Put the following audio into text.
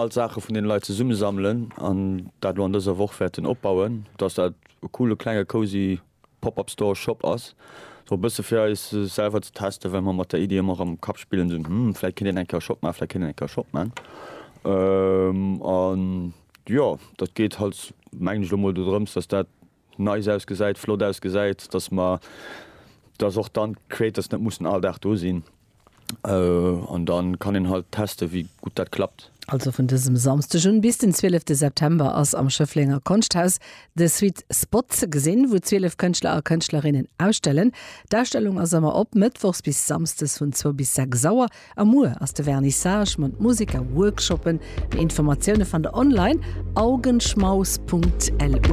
All d'Saache vun den Leit zesummesammelen an dat elo an dëser Woch wäerten opbauen, dass dat e coole klenge cozy Pop-up Store Shop ass, sou e bësse fir eis selwer ze testen, well mer mat der Iddi ëmmer am Kapp spillen, sou hm, vläit kéint een eng Kéier e Shop maachen, vläit kéint een eng Kéier e Shop maachen. An jo, dat geet halt mengen ech elo mol dodrëms, dass dat nice ausgesäit, flott ausgesäit, dass mer, dass och dann d'Creators net mussen all Dag do sinn an dann kann een halt testen, wéi gutt dat klappt. Also vun dësem Samsdeg un bis den 12 September ass am Schëfflenger Konschthaus de Sweet Spot ze gesinn, wou 12 Kënschtler a Kënschtlerinnen ausstellen. D'Ausstellung ass ëmmer op, mëttwochs bis samsdes vun zwou bis 6 Auer. A muer ass de Vernissage mat Musek a Workshoppen. Méi Informatioune fannt der online, augenschmaus.lu.